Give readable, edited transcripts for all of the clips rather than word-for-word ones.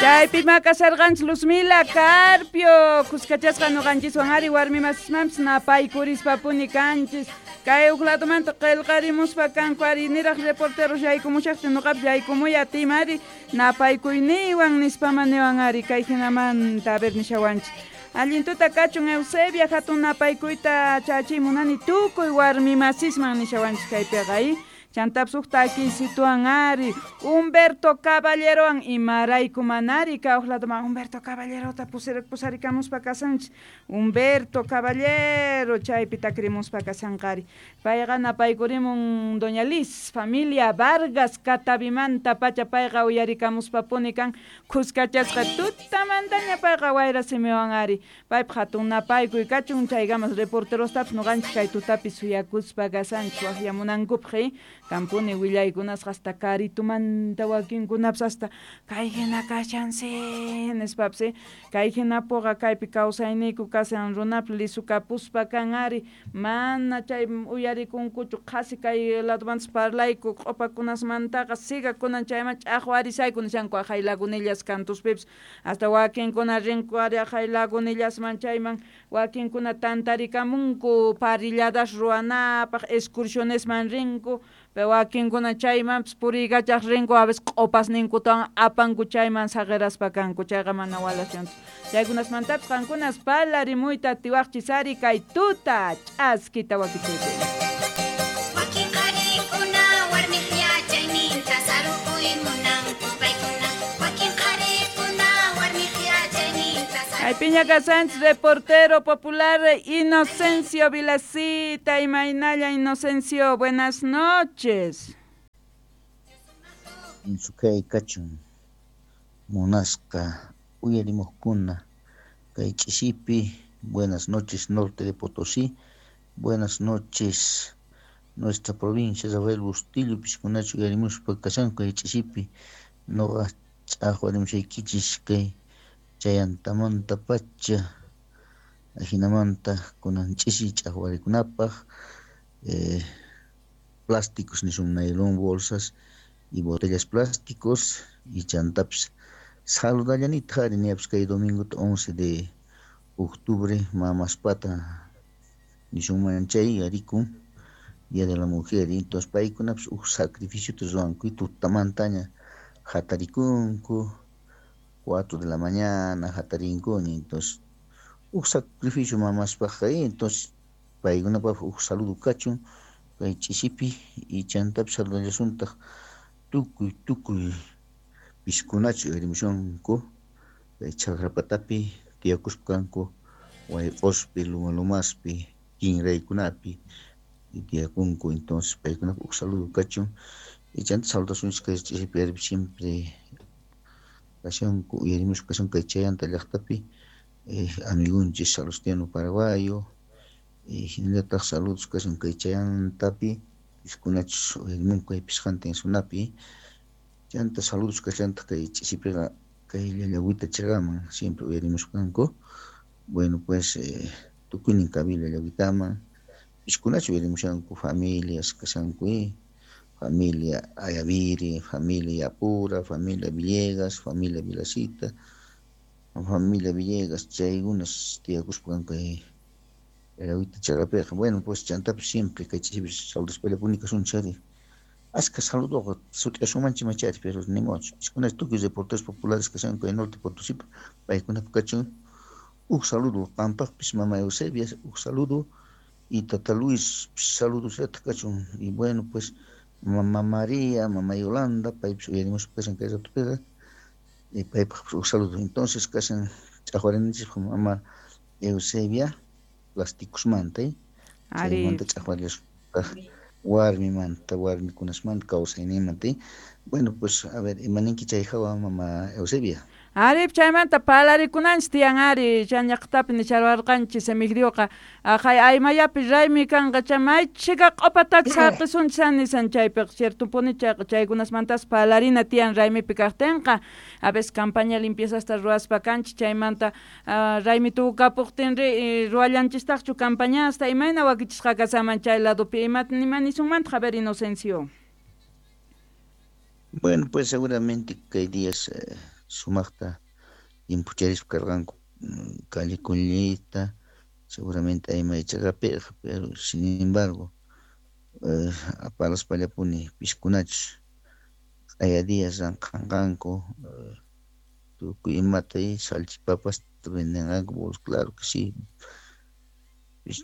Chaypi makasarqanchis Luzmila Carpio, kuskachasqa ñuqanchiswan ari warmi masismanpis napaykurispa-puni kanchis. Kay huk ladomanta qillqarimuspa kanku ari niraq reporteros yaykumushaqtin ñuqapis yaykumuy atiyman ari napaykuyniwan nispama niwan ari kay hinamanta a ver nishawanchis. Allin tuta kachun Eusebia hatun napaykuyta chachiy munani tukuy warmi masisman nishawanchis kaypiqa i. Chantapis huk takiysituwan ari Humberto Caballerowan imarayku manari kay huk ladoman Humberto Caballerota pusarikamuspa kasanchis. Humberto Caballero chaypi takirimuspa kasanqari. Payqa napaykurimun Doña Liz, familia Vargas Catavimanta pacha payqa uyarikamuspapuni kan khuskachasqa tutamantaña payqa wayra simiwan ari. Paypaq hatun napaykuy kachun chaykamas reporterostapis ñuqanchis kay tutapi suyakuspa kasanchis waqyamunankupaq kampuni willaykunasqa hasta karitumanta wakinkunapis hasta kay hina kashansi nispapis kay hinapuqa kaypi kawsayniyku kashan runapis lisukapuspa kan ari mana chay uyarikunkuchu qhasi kay ladomantas parlayku q'upakunasmantaqa siga kunan chayman ch'aqwarisayku nishanku aqhay lagunillas kantuspipis hasta wakinkuna rinku ari aqhay lagunillasman chayman wakinkuna tantarikamunku parrilladas ruwanapaq excursionesman rinku pero wakinkuna chaymanpis puriykachaq rinku a veces q'upasninkutawan apanku chayman saqiraspa kanku chayqa mana walashanchu chaykunasmantapis qankunas parlarimuyta atiwaqchis ari kay tuta ch'askita wakichiypi. Wakin qharikuna warmiq yachayninta sarukuy munanku paykuna. Wakin qharikuna warmiq yachayninta sarukuy. Kaypiña kasanchis reportero popular Inocencio Vilacita, imaynalla Inocencio, buenas noches. Sukay kachun munasqa uyarimuqkuna kay ch'isipi, buenas noches norte de Potosí, buenas noches nuestra provincia Rafael Bustillo, piskunachu uyarimuspa kashanku kay ch'isipi, noqa ch'aqwarimushaykichis kay chayantamanta pacha ajinamanta kunan ch'isi ch'aqwarikunapaq plásticos nisun nylon bolsas y botellas plásticos y chantapis saludallanita ari niyapis kay domingo 11 de octubre mamaspata nisunman chay arikun Día de la Mujer, y entonces paykunapis uj sacrificio ruwanku y tutamantaña hatarikunku 4 de la mañana hatarinkuni, entonces uj sacrificio mamaspaqqa, entonces paykunapaq uj saludo kachun kay ch'isipi y chantapis saludallasuntaq tukuy tukuy piskunachu uyarimushunku kay chaqrapatapi tiyakuspa kanku wayq'uspi luma lumaspi kinraykunapi tiyakunku, entonces paykunapaq uj saludo kachun y chanta saludasunchis kay ch'isipi ari siempre kashanku uyarimuspa kashanku kay chayanta llaqtapi amigunchis Salustiano Paraguayo hinallataq saludos kashan kay chayantapi piskunachus uyarimunku kay pisqantin sunapi chanta saludos kashantaq kay ch'isipiqa kay llallawita chaqaman siempre uyarimuspa kanku. Bueno pues tukuynin kabila llawitaman piskunachu uyarimushanku familias kashanku familia Ayaviri, familia Apura, familia Villegas, familia Vilacita, familia Villegas, chaykunas tiyakuspa kanku kay llawita chaqapiqa. Bueno pues chantapis siempre kay ch'isipi saludaspallapuni kasunchis ari ashka saludoqa sut'iyasumanchis machari pero ni modo piskunachu tukuy reporteros populares kashanku kay norte Potosí paykunapaq kachun uj saludo qampaqpis mama Eusebia uj saludo y tata Luis saludos kachun y bueno pues mamá María, mamá Yolanda paypis uyarimuspa kashan kay ratopiqa y paypaq uj saludo. Entonces kashan ch'aqwarininchis mama Eusebia plásticosmanta chaymanta ch'aqwarillasuntaj warmimanta warmikunasmanta kawsaynimanta. Bueno pues a ver imaninki chay hawa mama Eusebia. Ari chaymanta parlarikunanchis tiyan ari chayllaqtapi nisharwarqanchis Emigdioqa aqhay aymayapi raymi kanqa chay maychika q'upatachis haqisunchis nisan chaypiqa ciertopuni chayqa chaykunasmantas parlarina tiyan raymipi kaqtinqa a veces campaña limpiezasta ruwaspa kanchis chaymanta raymi tukukapuqtinri ruwallanchistaqchu campañasta imayna wakichisqa kasaman chay ladopi ima nisunmantaq a ver Inocencio. Bueno pues seguramente kay días Sumaqta llimphucharispa karqanku calle collita, seguramente aymaychaqapiqa, pero sin embargo apalaspallapuni piskunachus q'aya días ranqanqanku tukuy imata salchipapasta vendenqanku, claro que sí,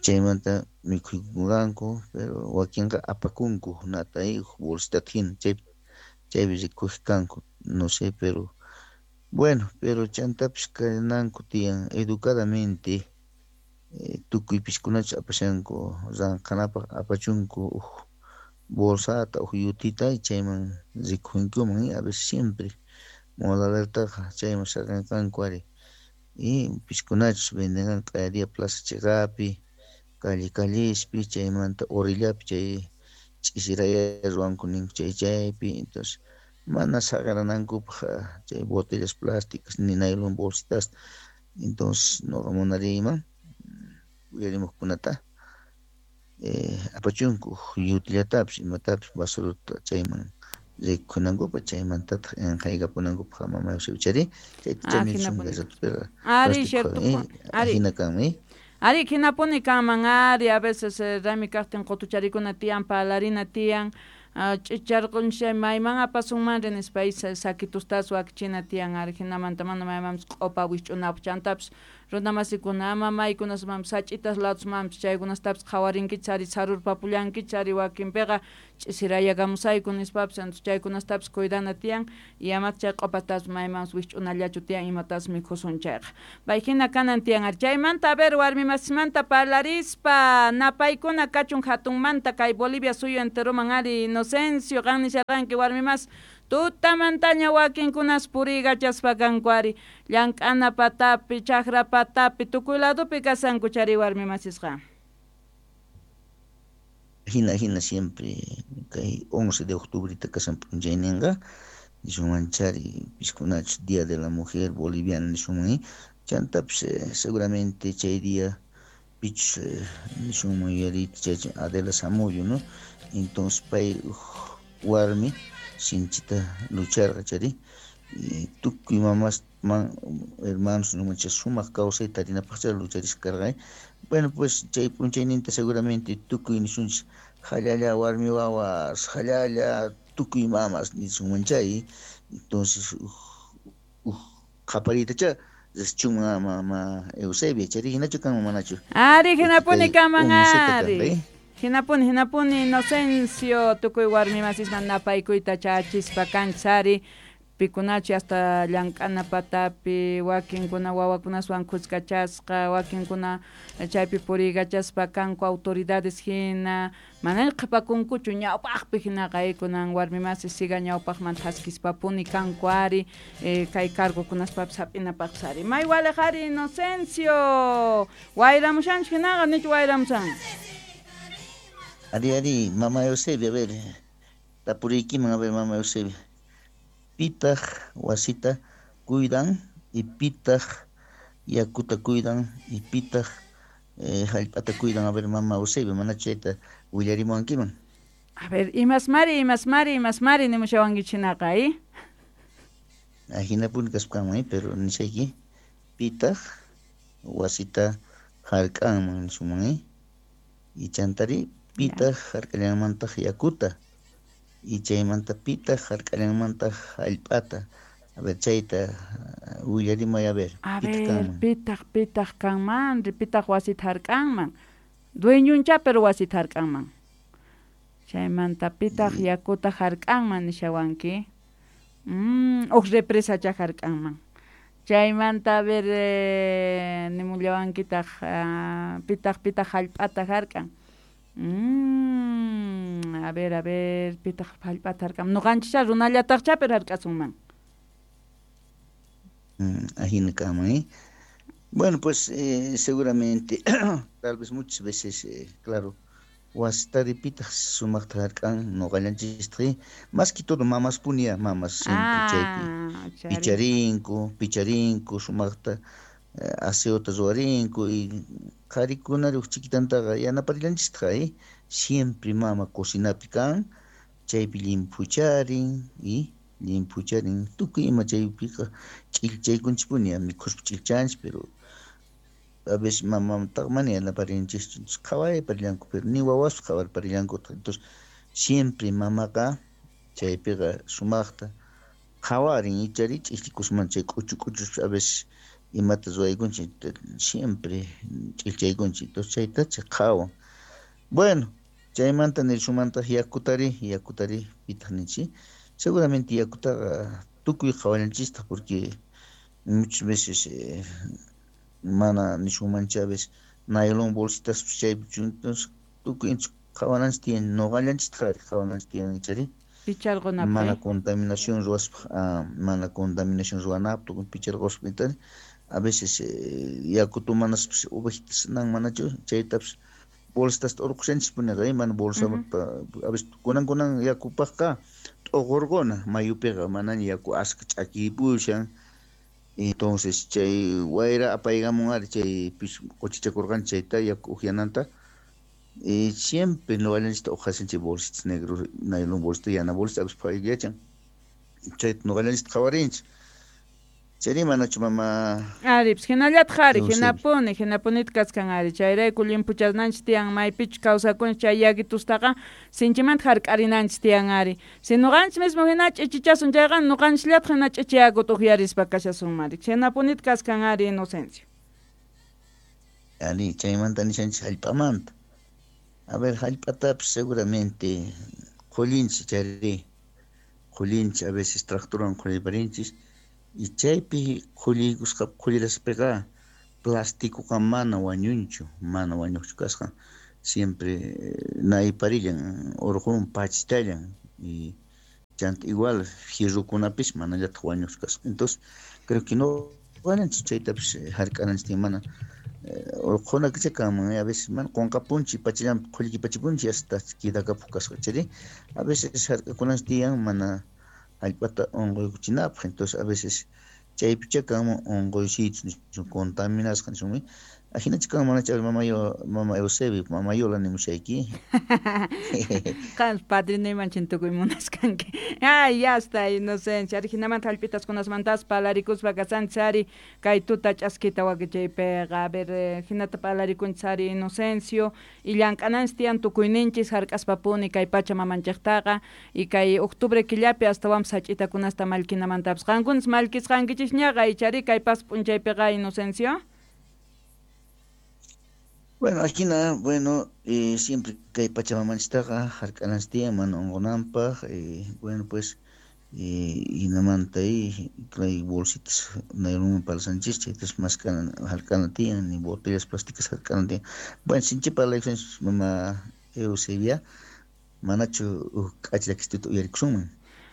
chaymanta mikhuykunqanku, pero wakinqa apakunku nata bolsitata hina chaypi rikuq kanku, no sé, pero bueno, pero chantapis kananku tiyan educadamente tukuy piskunachus apashanku ranqanapaq apachunku uj bolsata uj yutita chayman rikhunkuman a veces siempre molalertaqa chayman saqenqanku ari y piskunachus vendenqanku q'aya día plaza chiqapi calle callespi chaymanta orillapi chay ch'isiraya ruwanku ninku chay chaypi, entonces mana saqeranankupaq chay botellas plásticas ni nylon bolsitas, entonces noqa munariyman uyarimuqkunata apachunku yutillatapis imatapis basurata chayman rikunankupaq chaymantataq enqaykapunankupaq mama chari chayta ari cierto ajina kanmi. Ari hinapuni kanman ari a veces raymi kaqtin qutucharikuna tiyan parlarina tiyan ch'icharqunchik mayman apasunmanri nispa sakitustas wakichina tiyan ari hinamanta mana maymanpis q'upa wikch'unapaq chantapis runamasikuna ama maykunasmanpis sach'itas ladusmanpis chaykunastapis qhawarinkichik ari sarurpapullankichik ari wakinpiqa ch'isirayakamusayku nispapis entonces chaykunastapis cuidana tiyan y amata chay q'upatapis maymanpis wikch'unallachu tiyan imatas mikhusun chayqa pay hina kanan tiyan ari chaymanta a ver warmi masimanta parlarispa napaykuna kachun hatunmanta kay Bolivia suyu enteroman ari Inocencio qan nisharqanki warmi mas tutamantaña wakinkunas puriykachaspa kanku ari llank'ana patapi chakra patapi tukuy ladopi kasanku chari warmi masisqa. Hina hina siempre kay 11 de octubre kasan p'unchayninqa nisunman chari piskunachus Día de la Mujer Boliviana nisunman chantapis seguramente chay día pichus nisunman yuyariyta chay Adela Zamudio, ¿no? Entonces pay warmi sinchita lucharqa chari tukuy mamas man hermanos nisunman chay sumaq kawsayta tarinapaqcha lucharisqa karqa. Bueno, pues chay p'unchayninta seguramente tukuy nisunchis jallalla warmi wawas jallalla tukuy mamas nisunman chay, entonces uj qhapariytacha richunman mama Eusebia chari hinachu kanman manachu. Ari hinapuni kanman ari. Hinapuni hinapuni Inocencio tukuy warmi masisman napaykuyta chachispa kanchari pikunachi hasta llank'ana patapi wakinkuna wawakunaswan khuskachasqa wakinkuna chaypi puriykachaspa kanku autoridades hina mana qhipakunkuchu ñawpaqpi hinaqa kunan warmi masi siga ñawpaqman thaskispapuni kanku ari kay cargokunaspapis hap'inapaqpis ari may waliq ari Inocencio wayramushanchik hinaqa nichu wayramushan. Ari ari mama Eusebia a ver tapuriykiman a ver mama Eusebia pitaq wasita cuidan y pitaq yakuta cuidan y pitaq hallp'ata cuidan a ver mama Eusebia mana chayta willarimuwankiman. A ver imasmari imasmari imasmari nimushawankichik hinaqa Ajinapuni kaspakanman pero nisayki pitaq wasita hark'anman nisunman y chantari pitaq hark'allanmantaq yakuta y chaymanta pitaq hark'allanmantaq hallp'ata a ver chayta willarimay a ver. A ver pitaq pitaq kanman pitaq wasita hark'anman dueñuncha pero wasita hark'anman chaymanta pitaq yakuta hark'anman nishawanki uj represacha hark'anman chaymanta a ver nimullawankitaq pitaq pitaq hallp'ata hark'an. A ver, pitaq hallp'ata hark'an nuqanchikcha runallataqcha pero hark'asunman. Ajina kanman. Bueno, pues seguramente tal vez muchas veces claro wasitari pitaq sumaqta hark'an nuqallanchistaqi más que todo mamas punia mamas siempre chaypi picharinku picharinku sumaqta aseota ruwarinku y qharikunari uj chikitantaqa yanaparillanchistaq siempre mama cocinapi kan chaypi llimphucharin y llimphucharin tukuy ima chaypiqa ch'illchaykunchikpuni mikhuspa ch'illchanchik pero a veces mamamtaqa mana yanaparinchikchu qhawarparillanku pero ni wawaspas qhawarparillankutaq entonces siempre mamaqa chaypiqa sumaqta qhawarin ichari ch'illchikusman chay k'uchu k'uchus a veces imata ruwaykunchik siempre ch'illchaykunchik entonces chaytacha qhawan. Bueno, chaymanta nirshumantaq yakutari pitaq ninchik seguramente yakutaqa tukuy qhawallanchistaq porque muchas veces mana nishunmancha a veces nylon bolsitas chaypi entonces tukuy qhawananchik tiyan nuqallanchistaq qhawananchik tiyan ichari mana contaminación ruwaspa mana contaminación ruwanapaq tukuy picharquspa a veces yaku tomanaspas ovejitas nan manachu chaytapas bolsitasta urqushanchikpuniqa mana bolsa a veces kunan yakupaqqa t'uqurquna mayupiqa manaña yaku aska ch'akipushan entonces chay wayra apaykamun ari chay pis quchichakurqanchik chayta yaku uqyananta y siempre nuqallanchikta uqhasanchik bolsitas negro nylon bolsita yana bolsita a veces pay yachan chayta nuqallanchikta qhawarinchik chayri manachu mama ari pues hinallataq ari hinapuni hinapunita kaskan ari chayrayku llimpuchananchik tiyan maypichus kawsakunchik chay yakitustaqa sinchimanta hark'arinanchik tiyan ari si nuqanchik mismo hina ch'ichichasun chayqa nuqanchikllataq hina ch'ichi yakuta uqyarispa kashasunman ari hinapunita kaskan ari Inocencio. Ari chaymanta nishanchik hallp'amanta a ver hallp'atapis seguramente qhullinchik chayri qhullinchik a veces tractorwan qhulliparinchik y chaypi qhulliykusqa qhulliraspaqa plastikuqa mana wañunchu mana wañuqchu kasqa siempre nayparillan urqun pachitallan y chanta igual fierrokunapis manallataq wañuqchu kasqa entonces creo que no wañanchik chaytapis hark'ananchik mana urquna kanman a veces mana qunqapunchik pachallanpi qhullkipachipunchik hasta quedakapuq kasqa chayri a veces hark'akunanchik tiyan mana hallp'ata unquykuchinapaq entonces a veces chaypicha kanman unquysichus nishun contaminasqa nishunmi ajinacha kanman manacha mama Eusebio mama Yola nimushayki qan padrinuyman tukuy munaskanki ay ya está Inocencia ari hinamanta hallp'itaskunasmantas palarikuspa kasanchis ari kay tuta ch'askita wakichaypiqa a ver hinata palarikunchis ari Inocencio y llank'ananchis tiyan tukuyninchis hark'aspapuni kay pacha mamanchiktaqa y kay octubre killapi astawanpas sach'itakunasta mallkinamantapas qankunas mallkisqankichisñaqa ichari kay pas p'unchaypiqa Inocencio. Bueno, ajina, bueno, siempre kay pachamamanchiktaqa hark'ananchik tiyan mana unqunanpaq bueno, pues hinamanta kay bolsitas naylonwan palsanchis chaytas mask'ana hark'ana tiyan ni botellas plásticas hark'ana tiyan bueno, sinchi parlaykusanchis mama Eusebia manachu huk k'acha llakisituta uyarikusunman.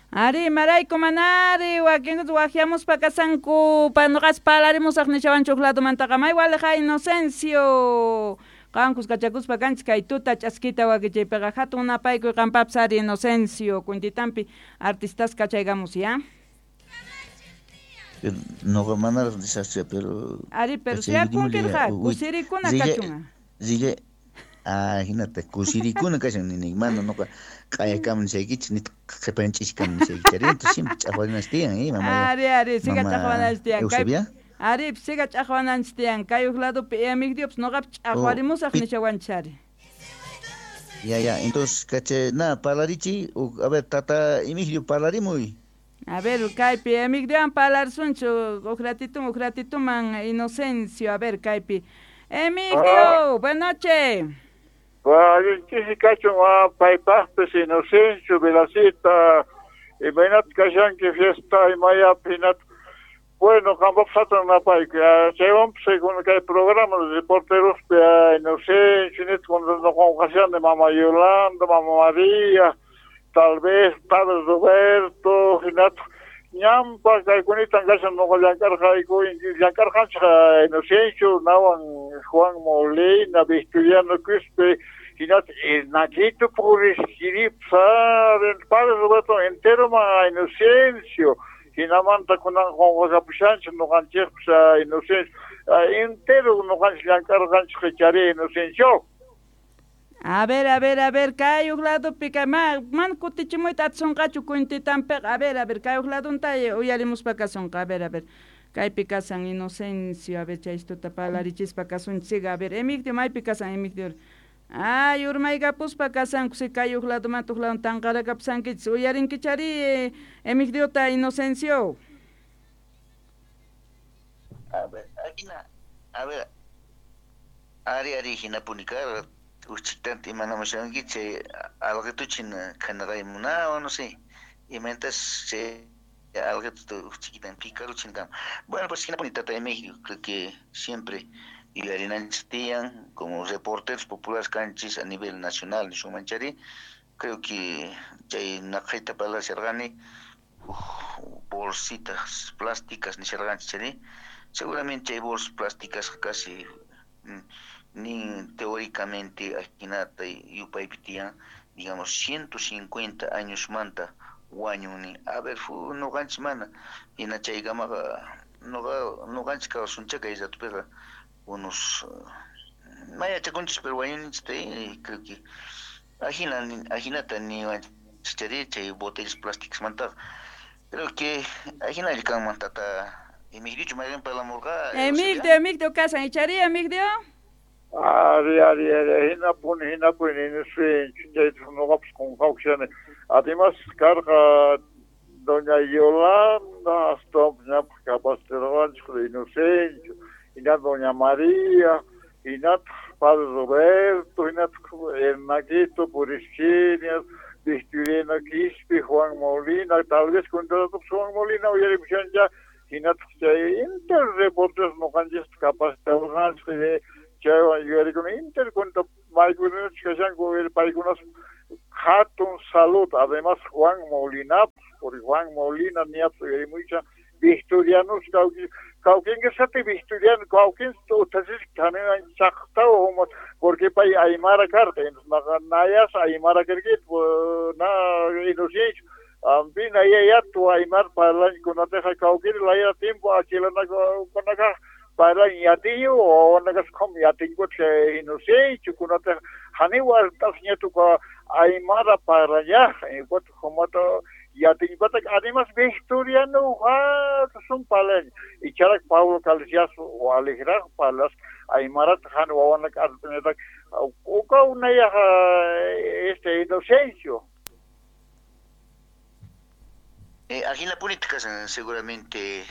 Ari, marayku manari, wakinkuta waqyamuspa kasanku, nuqas palarimusaq nishawanchik huk ladomantaqa may waliqa Inocencio. Qankus kachakuspa kanchik kay tuta ch'askita wakichaypiqa hatun napaykuy qampapis ari Inocencio, kuntitampi artistas kachaykamus ya. Pero nuqa manaraq nisaqchu pero ari, pero suyakunkirqa kusirikuna kachunqa. Hinata kusirikuna kashan nini mana nuqa q'ayakaman nishaykichik nitaq qhipan ch'ishikaman nishaykichik entonces siempre ch'aqwananchik tiyan mama ari ari siga ch'aqwananchik tiyan kay ari siga ch'aqwananchik tiyan kay huk ladopi Emigdiopas nuqapi ch'aqwarimusaq nishawanchik ari. Ya ya entonces kacha na parlarichi a ver tata Emigdio parlarimuy. A ver kaypi Emigdiowan parlarisunchik huk ratituman Inocencio a ver kaypi Emigdio, buenas noches. Allinchisi kachun paypaqpis Inocencio Velacita imaynata kashanki fiesta imayapi hinata bueno qampapas hatun napayku chaywanpas kay programa reporterospi Inocencio nita nuqanqa mama Yolanda mama María tal vez padre Roberto hinata ñampa kaykunita kashan nuqa llank'arqayku llank'arqanchik Inocencio nawan Juan Molina Victoriano Quispe hinata Nachito purisqiripsa padre Roberto entero ma Inocencio hinamanta kunan qunqakapushanchik nuqanchikpis Inocencio entero nuqanchik llank'arqanchik chari Inocencio. A ver, a ver, a ver, kay uq ladopi kay mana kutichimuyta atisonqachu cuentitanpiqa. A ver, a ver, kay uq ladonta uyarimuspa kasunqa. A ver, a ver. Kaypi kasan Inocencio, a ver, chaystuta parlarichispa kasunchik. A ver, Emigdio, maypi kasan Emigdio? Ay, urmaykapuspa kasanku, si kay uq ladomanta uq ladon tanqarakapusankichis. Uyarinkichari Emigdiota, Inocencio. A ver, a ver, ari ari hinapuni karqa. Uchitanta imanamushanki chay alqituchin khanaqaymunawan, no sé, imayntas chay alqituta uchchikitan picaruchin kan. Bueno, pues hinapuni tata Emigdio, creo que siempre yuyarinanchis tiyan, como reporteros populares kanchis a nivel nacional, nishumanchari, creo que chay naqhayta parlasharqani, bolsitas plásticas nisharqanchis chari, seguramente chay bolsas plásticas casi nin teóricamente ajinata yupaypi tiyan, digamos, 150 años manta wañuni. A ver, noqanchis mana, hina chaykamaqa noqanchis kawsunchá kay ratupiqa unos mayachakunchis, pero wañuninchis, creo que ajinata niwanchis chari chay botellas plásticas mantaqa. Creo que ajinalla kanman tata Emigdiochu mayqin parlamurqa. Emigdio, Emigdio kasan, ichari Emigdio? Ari, ari, ari, hinapuni, hinapuni, Inocencio, chayta noqapas qunqawkashani. Además, karqa doña Yolanda, hasta ñapaq capacitarwanchik Inocencio, hinataq doña María, hinataq Padre Roberto, hinataq Hernaquito, Purischinias, Victoriano Quispe, Juan Molina, tal vez cuentatapis Juan Molina uyarimushancha, hinataq chay inter reporteros noqanchista capacitarwanchik, chaywan yuyarikuna inter cuenta maykunachus kashanku paykunas hatun salud, además Juan Molina, porque Juan Molina niapis uyarimuysha Victorianos kawkinqisati Victoriano kawkin utasisqa thanin chaqtawa porque pay aymara karqa, nayas aymara karkita na Inocencio ampi nayayatu aymara parlankunataqa kawkiri laya tiempo achilanakunakaq parlan yatiñu wawanakas qhum yatinkuta Inocencio kunataqa haniwa ñatuka aymara parlañaq humata yatiñpata además Victoriano hatun parlañ icharak Pablo Calcias waliqraq parlas aymarata han wawanaka arpañataq uka unayaq este Inocencio. Ajinapunita kasan seguramente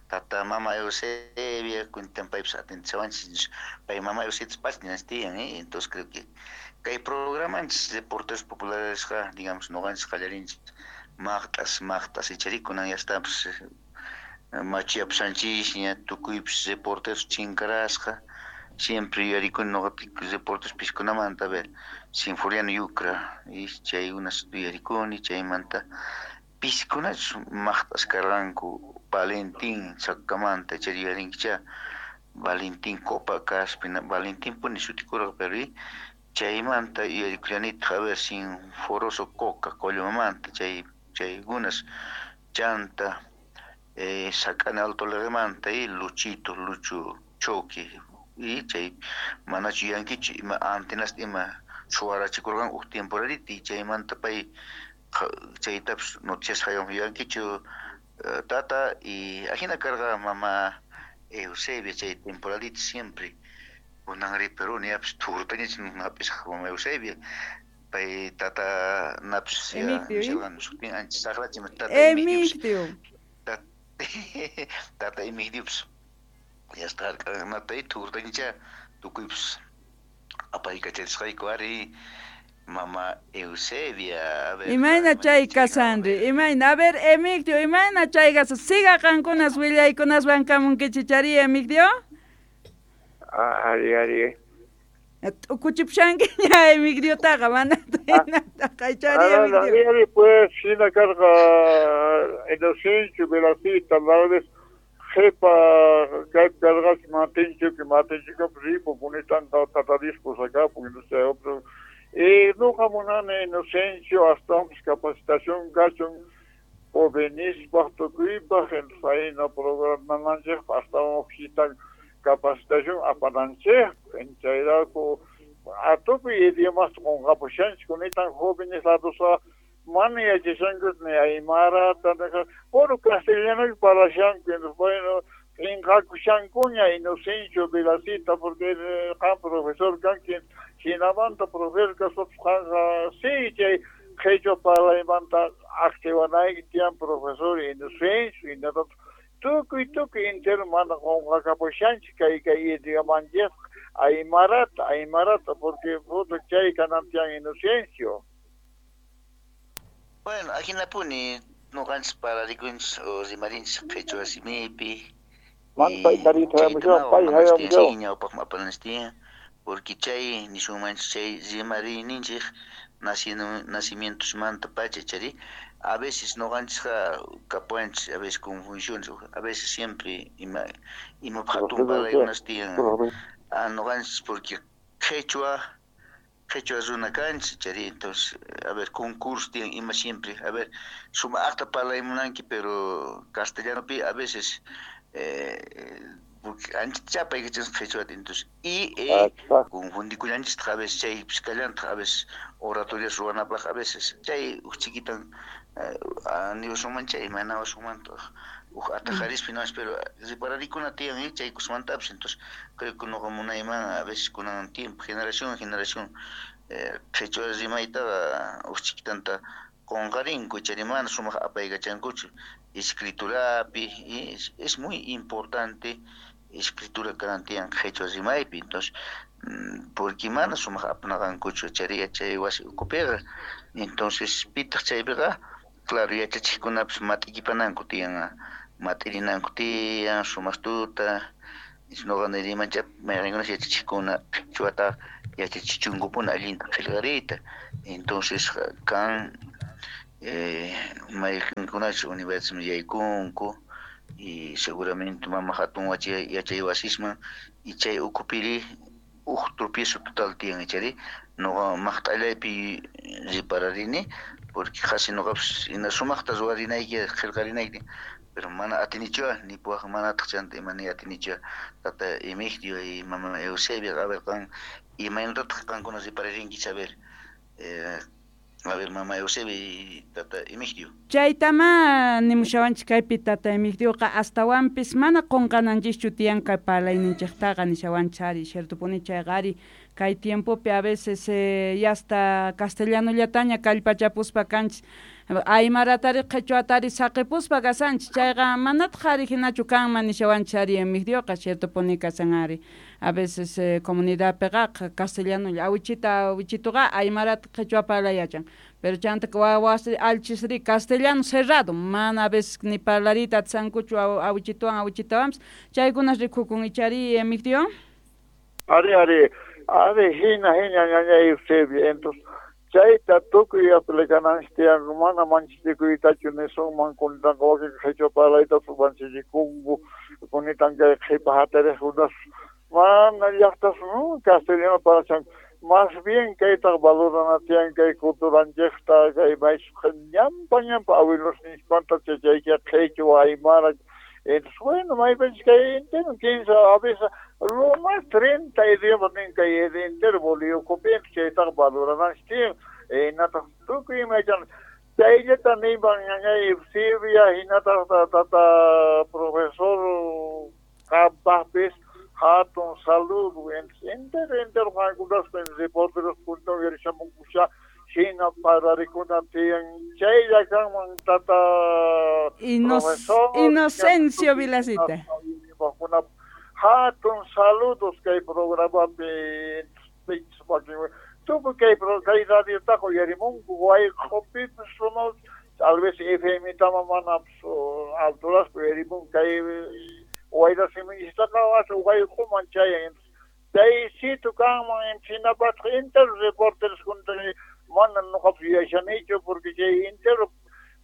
tata mama Eusebia cuentan paypis atentechawanchis, pay mama Eusebia pachñas tiyan, entonces creo que kay programanchis reporteros populares digamos noqanchis qallarinchis maqtas ichari kunan ya está pues machiapsanchis tukuypis reporteros chinkarasqa, siempre yuyarikuni noqapi reporteros piskunamanta, a ver, Sinforiano Yucra y chaykunas yuyarikuni, chaymanta piskunachus maqtas karqanku Valentín Sacamanta, chari yuyarinkichá, Valentín Copa Caspi, Valentín puni sutikurqa, pero chaymanta yuyarikullanitaq, a ver, Sinforoso Coca, Collomamanta, chaykunas, chanta Sacana Alto Lermanta y Luchito, Lucho Choque, y chay manachu yuyankichu ima antenasta ima suwarachikurqanku uj temporadita, y chaymanta pay chaytapis noticias haywan yuyankichu tata, y ajina karqa mama Eusebia chay temporadita siempre kunanri Perú niapis thurtañach hap'isqa mama Eusebia pay tata napis sutin ancha saqrachim tata Emigdio tata Emigdiopis ya está natay thurtañacha tukuypis apaykachasqayku ari mama Eusebia. A ver, imayna chay kasanri, imayna, a ver Emigdio, imayna chay kasan, siga qankunas willaykunaswan kamunkichichari Emigdio. Ari, ari. T'ukuchipushankiña Emigdiotaqa mana taqaychari Emigdio. Ari, pues hina karqa Inocencio Velacita, la vez jepa kaypi karqachi Matinchuki, Matinchukapi ripu punitanta tatadiscos akapun, entonces otro. Noqa munani Inocencio astawanpis capacitación kachun jovenispaq tukuypaq, entonces ahina programananchikpaq astawan hukchitan capacitación apananchikpaq, chayrayku Tukuy idiomasta qunqapushanchik kunitan jóvenes ladosqa mana yachashanku ni aymarata puro castellano parlashanku. Entonces bueno, p'inqakushankuña Inocencio Vilacita, porque qan profesor kanki, jinamanta profesor kaspapis qanqa sí chay qhichwa parlaymanta activanayki tiyan profesor Inocencio, hinallataq tukuy tukuy entero mana qunqakapushanchik kay kay idiomanchikqa aymarata aymarata, porque puta chay kanan tiyan Inocencio. Bueno, ajinapuni noqanchis pararikunchis o rimarinchis qhichwa simipi. Ñawpaqman apananchis tiyan, porque chay nisunmanchis chay rimariyninchik nacimientosmanta pacha chari a veces noqanchisqa kapuwanchis a veces confusiones, a veces siempre ima imapaq hatun parlaykunas tiyan noqanchis, porque qhichwa qhichwa runa kanchis chari. Entonces a ver, concurso tiyan ima siempre, a ver, sumaqta parlay munanki, pero castellanopi a veces porque ancha chapaykachis qhichwata, entonces y confundikullanchistaq a veces chaypis kallantaq a veces oratorias ruwanapaq a veces chay uj chiquitan niwasunman chay manawasunmantaq uj atajarispi no, pero repararikuna tiyan chaykusmantapis. Entonces creo que noqa munayman a veces kunan tiempo generación generación qhichwa rimaytaqa uj chiquitanta qunqarinku chari mana sumaq apaykachankuchu escriturapi. Es muy importante escritura kanan tiyan qhichwa rimaypi, entonces porque mana sumaq apanaqankuchu chari yachay wasi ukhupiqa. Entonces pitaq chaypiqa claro yachachiqkunapis mat'ikipananku tiyan, mat'irinanku tiyan sumaqtuta. Noqa nirimancha mayqinkunas yachachiqkuna qhichwata yachachichunkupuni allinta qillqariyta. Entonces kan mayqinkunachus universidadman yaykunku y seguramente mama hatun yachay wasisman y chay ukhupiri uj tropiezo total tiyan chari noqa maqt'allaypi ripararini, porque qhasi noqapis ina sumaqta ruwarinayki qillqarinayki, pero mana atinichu nipuwaq manataq chanta ima ni atinichu tata Emigdio y mama Eusebio. A ver, qan imaynatataq qankuna ripararinkichis? A ver, mama Eusebio y tata Emigdio. Chaytama nimushawanchik kaypi tata Emigdioqa, astawanpis mana qunqananchischu tiyan kay parlayninchiktaqa nishawanchik ari, ciertopuni chayqa ari. Kay tiempopi a veces ya hasta castellanollataña kallpachapuspa kanchis, aymaratari qhichwatari saqipuspa kasanchis, chayqa manataq ari hinachu kanman nishawanchik ari Emigdioqa, ciertopuni kasan ari. A veces comunidadpiqa castellanolla awichita awichituqa aymarata qhichwa parlay yachan, pero chanta wawas alchisri castellano cerrado, mana a veces ni parlariyta atisankuchu awichituwan awichitawanpis, chaykunas rikukun ichari Emigdio. Ari ari ari hina hina ñaña Eusebio, entonces chayta tukuy aplicananchik tiyan, mana manchachikuytachu nisunman kunitanqa wakin qhichwa parlayta manchachikunku kunitan kay qhipa hatariqkunas mana llaqtas castellano parlashanku. Más bien kaytaq valorana tiyan kay culturanchikta, kay maychus ñampa ñampa abuelosninchikmanta chayka qhichwa aymara. Entonces bueno, maypichis kay entero 15 a veces lo más 30 idiomas nin kay entero Bolivia ukhupi, chaytaqa valorananchik tiyan. Hinataq tukuy ima yachan chayllata niman ñañay Eusebia, hinataq tata profesor qampaqpis hatun saludo. Entero entero qankunaspa reporteros punto uyarishamunkusha hina parlarikuna tiyan chaylla kanman tata profesor Inocencio Vilacita. Hatun saludos kay programapi tukuy kay kay radiotaqa uyarimunku wayq'upipis no tal vez FM tama mana alturaspi uyarimunku kay wayra simichistaqa wayq'uman chayan chaysitu kanman hinapataq entero reporteros mana noqapis yuyashanichu, porque chay entero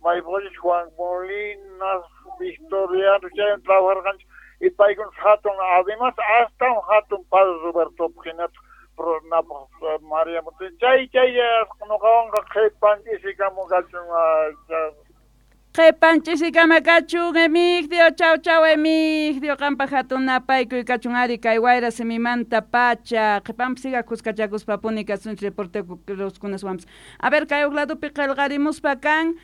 maypaqachis Juan Molina, Victoriano chaywan trabajarqanchik y paykuna hatun además astawan hatun Padre Robertopaq hinataq María chay chay noqawanqa qhipan ch'isikamun kachun. Qhipan ch'isikama kachun Emigdio, chau chau Emigdio, qanpaq hatun napaykuy kachun ari kay wayra simimanta pacha. Qhipanpis siga kuskachakuspapuni kasunchik reporteroskunaswanpis. A ver, kay huk ladopi qillqarimuspa kan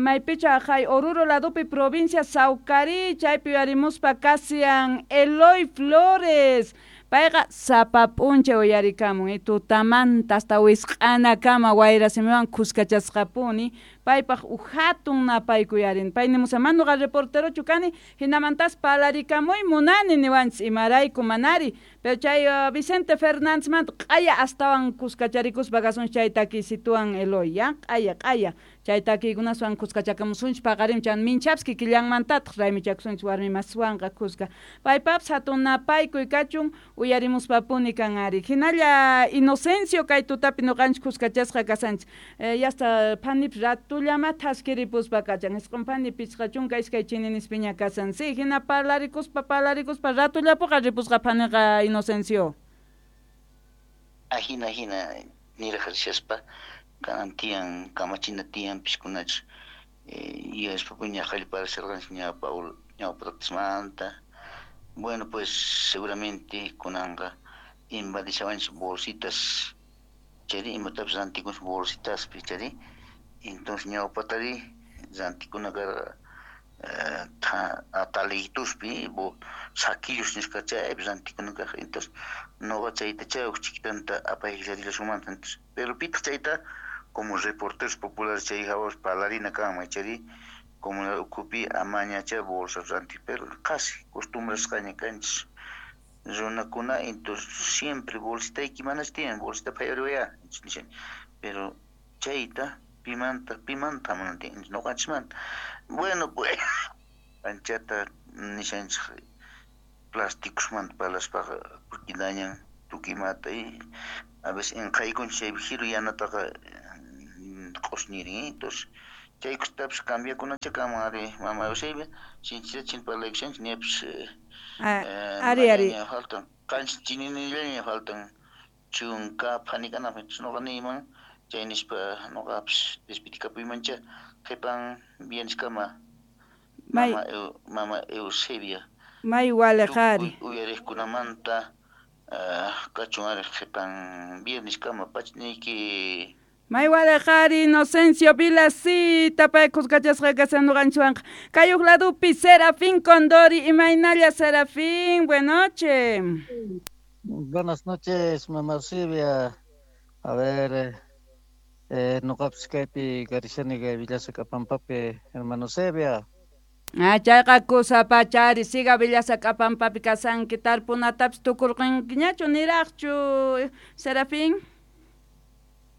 maypicha hay Oruro ladopi provincia Saucarí, chaypi uyarimuspa kasian Eloy Flores. Payqa sapa p'unchay uyarikamun, tutamanta hasta wisq'anakama wayra simiwan kuskachasqapuni, paypaq uj hatun napaykuy arin. Pay nimusa manuqa reporterochu kani, hinamantas parlarikamuy munani niwanchis imarayku manari. Pero chay Vicente Fernándezmanta q'aya astawan kuskacharikuspa kasunchik chay takiysituwan Eloy, ya? Q'aya, q'aya. Chay takiykunaswan kuskachakamusunchik paqarim chan minchapis kikillanmantataq raymichakusunchik warmi maswanqa kuska. Paypapis hatun napaykuy kachun uyarimuspapuni kan ari. Hinalla Inocencio kay tutapi ñuqanchik kuskachasqa kasanchik. Yasta phanipis ratullama thaskiripuspa kachan. Isqun phani 52 chininispiña kasan. Sí, hina parlarikuspa parlarikuspa ratullapuqa ripusqa phaniqa Inocencio. Ahina hina niraq rishaspa kanan tiyan kamachina tiyan piskunachus yuyaspapuña qallparasharqanchik ñawpa tatasmanta. Bueno, pues seguramente kunanqa invadishawanchik bolsitas, chayri imatapis rantikunchik bolsitaspi, chayri entonces ñawpatari rantikuna karqa atalituspi saquillos nisqa chaypi rantikuna kaq. Entonces noqa chayta chay huk chiquitanta apayllarillasunmanta. Entonces, pero pitaq chayta como reporteros populares chay hawapas parlarina kanman, chayri comunidad ukhupi amañacha bolsas ranti, pero qasi costumbrasqaña kanchis runakuna, entonces siempre bolsitayki manachu tiyan, bolsita phayariwaya nishani, pero chayta pimanta pimanta mana tiyan ñuqanchikmanta. Bueno, pues anchata nishanchik plásticosmanta parlaspaqa, porque dañan tukuy imata y a veces inqaykunchik chay jiru yanataqa q'usñirin, entonces chaykustapis cambiakunacha kanman ari mama Eusebia, sinchita chin parlaykushanchik ñapis ari ari faltan qanchis chininillaña faltan chunka phanikanapaq. Entonces noqa niyman chay nispa noqapis despitikapuymancha qhipan vierneskama mama Eusebia. May waliq ari. Uyariqkunamanta kachun ari qhipan vierneskama pachniyki. May waliq ari Inocencio Vilasita pay kuskachasqa kasan ñuqanchikwanqa. Kay huk ladopi Serafín Condori, imaynalla Serafín, buenas noches. Buenas noches, mama Eusebia. A ver, noqapis kaypi karishani kay Villasacpampapi, hermano Eusebia. Ah, chayqa kusapachari, siga Villasacpampapi kasanki, tarpunatapis tukurqankiñachu niraqchu, Serafín?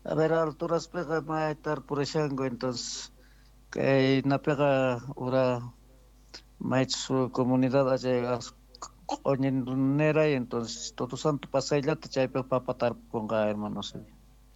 A ver, alturaspiqa may tarpurishanku, entonces kay napiqa ura maychus comunidad allay q'uñineray, entonces Todo Santo pasayllata chaypi papa tarpukunqa, hermano Eusebia.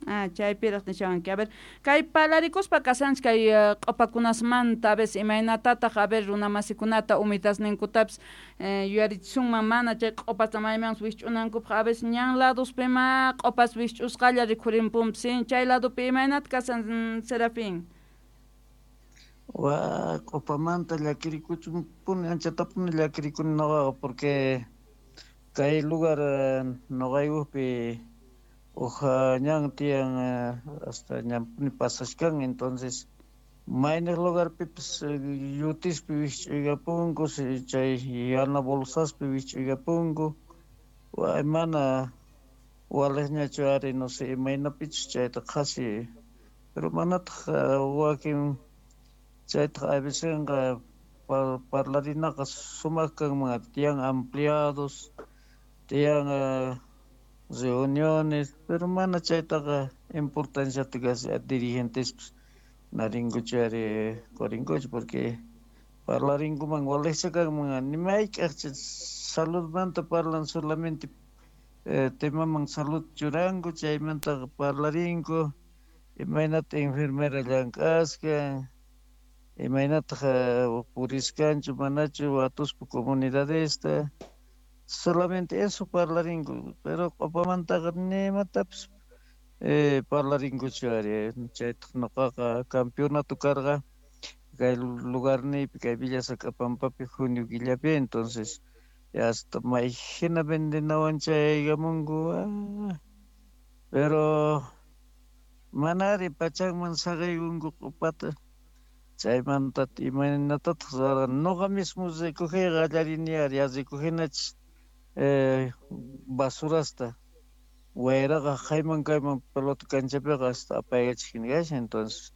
Ah, chaypiraq nishawanki. A ver, kay parlarikuspa kasanchik kay q'upakunasmanta, a veces imaynatataq, a ver, runamasikunata umitasninkutapis yuyarichisunman mana chay q'upasta maymanpis wikch'unankupaq, a veces ñan ladospima q'upas wikch'usqalla rikhurinpunpis, chay ladopi imaynata kasan Serafín? Wa, q'upamanta llakirikuchunpuni, anchatapuni llakirikuni noqaqa, porque kay lugar noqaykupi uja ñan tiyan hasta ñanpuni pasashkan, entonces mayniq lugarpipis yutispi wikch'uykapunku, chay yana bolsaspi wikch'uykapunku, wa mana waliqñachu ari, no sé imaynapichus chayta qhasi, pero manataq wakin chaytaq avecenqa parlarinaqa sumaq kanman, tiyan ampliados, tiyan reuniones, pero mana chaytaqa importanciata casi dirigentespis narinkuchu ari qorinkuchu, porque parlarinkuman waliqcha kanman, ni mayk'aq saludmanta parlan solamente temaman salud churanku, chaymantaqa parlarinku imaynata enfermera llank'asqa, imaynataq puriskanchu manachu watuspa comunidadesta, solamente eso parlaringu, pero q'upamantaqa nimatapis parlarinkuchu ari. Chaytaq ñuqaqa campeonato karqa Kay lugarniypi kay Villa Sacrapampapi junio killapi, entonces hasta mayhina vendenawan chayaykamunku, pero manari pachanman saqaykunku q'upata. Chaymanta imaynatataq ruwarqani noqa mismo recogeyqa qallarini ari, ya recogenachis basurasta wayraqa jayman kayman pelota canchapiqa hasta apaykachik kashan, entonces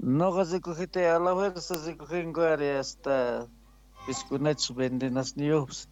noqa recogeta a la fuerza recogenku ari, hasta piskunachis vendenasniyuqpis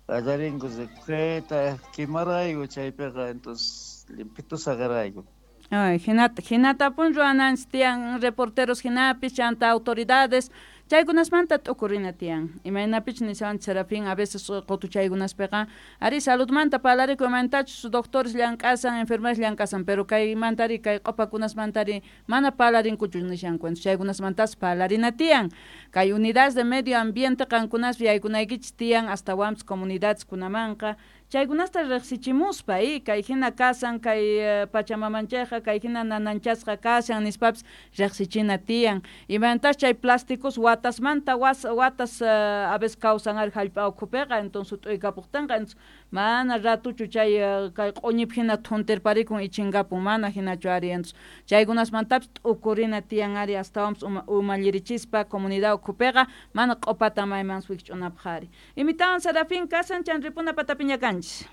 qallarinku recogeta, quemarayku chaypiqa, entonces limpito saqarayku. Ay, hinatapun ruwananchis tiyan reporteros hinapis chanta autoridades chaykunasmanta t'ukurina tiyan. Imaynapich nishawanchis Serafín a veces qutuchaykunaspiqa ari saludmanta parlarinku imantachus doctores llank'asan enfermeras llank'asan, pero kaymantari kay q'upakunasmantari mana parlarinkuchu nishanku, entonces chaykunasmantas parlarina tiyan. Kay unidades de medio ambiente qankunaspi yaykunaykichis tiyan astawanpis comunidades kunamanqa chaykunasta riqsichimuspa kay hina kasan kay pachamamanchayqa kay hina nananchasqa kashan nispapis riqsichina tiyan. Imantas chay plásticos watasmanta watas a veces kawsan ari hallp'a ukhupiqa, entonces t'uykapuqtinqa, entonces mana ratuchu chay kay q'uñipi hina thuntirparikun ichinkapun, mana hinachu ari, entonces chaykunasmantapis t'ukurina tiyan ari astawanpis umallirichispa comunidad ukhupiqa mana q'upata maymanpis wikch'unapaq ari. Imitawan Serafín kasan chan ripuna patapiña kanchis.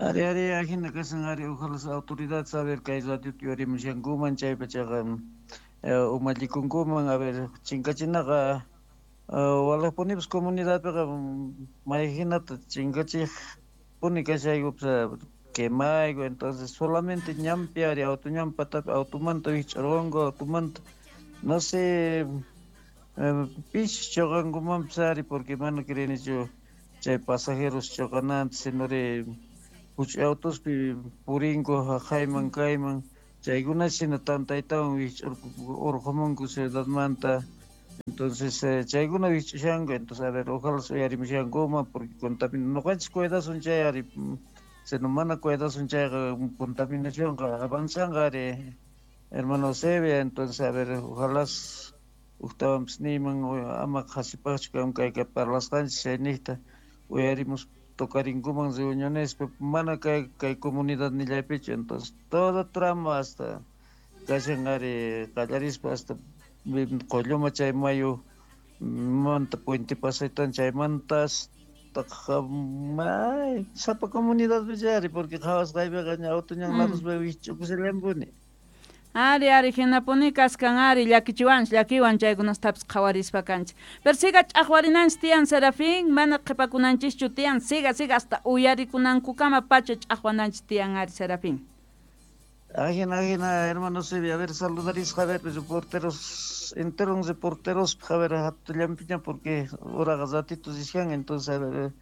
Ari ari ajina kasan ari, ojalá las autoridades a ver kay radio yurimushankuman chaypachaqa umallikunkuman, a ver chinkachinaqa walaqpunipis comunidadpiqa mayhinata chinkachik puni kashayku quemayku, entonces solamente ñanpi ari auto ñan patapi automanta wikch'urqanku automanta no sé pis choqankumanpis ari, porque mana creenichu chay pasajeros choqananta, sinori huch'uy autospi purinku haqayman kayman chaykuna shina tantaytawan wikch'urqumunku ciudadmanta, entonces chaykuna wikch'ushanku, entonces a ver ojalá uyarimushankuman porque contamin noqanchis cuidasun chay ari, sino mana cuidasun chayqa contaminacionqa avanzanqa ari hermano Eusebia, entonces a ver ojalá uktawanpis niyman ama qhasipaqchu kan kay parlasqanchis chayniqta uyarimus tocarinkuman reuniones mana kay comunidad nillaypichu, entonces todo tramo hasta kashan ari qallarispa hasta Qolluma chay mayu manta puente pasaytan chaymanta hasta sapa comunidad ari, porque qhawasqaypiqa ña auto ñan ladospi wikch'ukushallanpuni. Ari ari hinapuni kaskan ari llakichiwanchis llakiwan chaykunastapis qhawarispa kanchis. Pero siga ch'aqwarinanchis tiyan Serafín, mana qhipakunanchischu tiyan, siga siga hasta uyarikunankukama pacha ch'aqwananchis tiyan ari Serafín. Ajina ajina hermano Eusebio, a ver saludarisqa, a ver reporteros enteros reporteros, a ver hatullampiña porque uraqa ratitos rishan, entonces a ver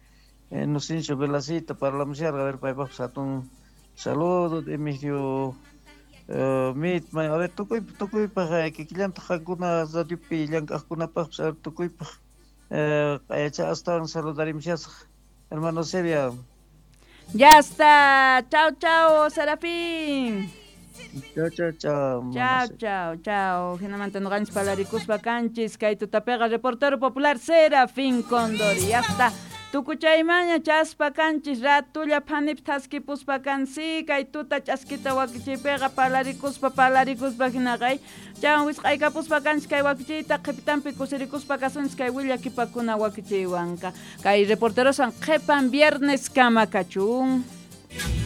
Inocencio Velacita parlamusharqa, a ver paypaqpis hatun saludo Emigdio mitma, a ver tukuypaq kikillantaq qankuna radiopi llank'aqkunapaqpis, a ver tukuypaq q'ayacha astawan saludarimushasaq hermano Eusebio. Ya está, chao chao Serafín. Chao chao chao. Chao chao chao. Hinamanta noqanchis parlarikuspa kanchis kay tutapiqa reportero popular Serafín Condori. Ya está. Tukuchaymaña chaspa kanchis ratulla phanip thaskipuspa kansi kay tuta ch'askita wakichiypiqa parlarikuspa hinaqay chawan wisq'aykapuspa kanchis kay wakichiyta qhipitanpi kusirikuspa kasunchis kay willakipakuna wakichiywanqa kay reporterosan qhipan viernes kama kachun.